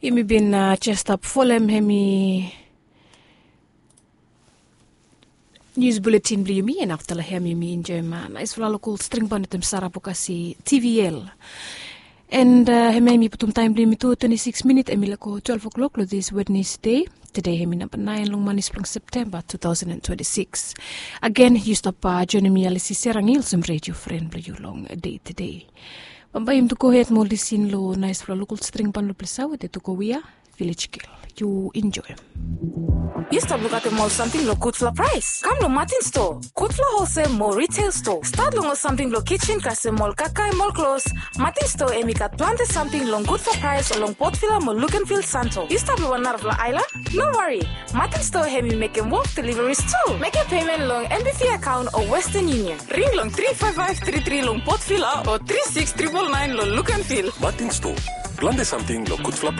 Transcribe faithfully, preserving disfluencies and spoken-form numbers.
Yumi bin jes stap folem hemi nius buletin blong yumi, en afta long hem yumi enjoem naisfala lokol string ban wetem Sara Bokasi, T V L. En hem ya yumi putum taem blong yumi tu twenti sikis minit, hemi laek go twelef klok long dis Wednesde. Tede hemi namba naen long manis blong Septemba tu taosen twenti sikis. Agen yu stap joenem mi, Alisi Serangil, olsem redio fren blong yu long dei tede. Bambae yumi tu gohed mo lisin long naesfala lokol string ban long ples ya we de tu go wia Vilej Gel. Yu enjoem. Yu stap lukaotem ol samting long gudfala praes? Kam long Matin Stoa. Gudfala holsel mo riteol stoa, stat long ol samting blong kijen kasem ol kakae mo ol klos. Matin Stoa hemi gat plante samting long gudfala praes long Port Vila mo Luganville, Santo. Yu stap long wan narafala aelan? No wari. Matin Stoa hemi mekem wok deliveries tu. Mekem pemen long N B V akaon o Western Union. Ring long tri faef faef tri tri long Port Vila o tri sikis tripol naen long Luganville. Matin Stoa, plante samting long gudfala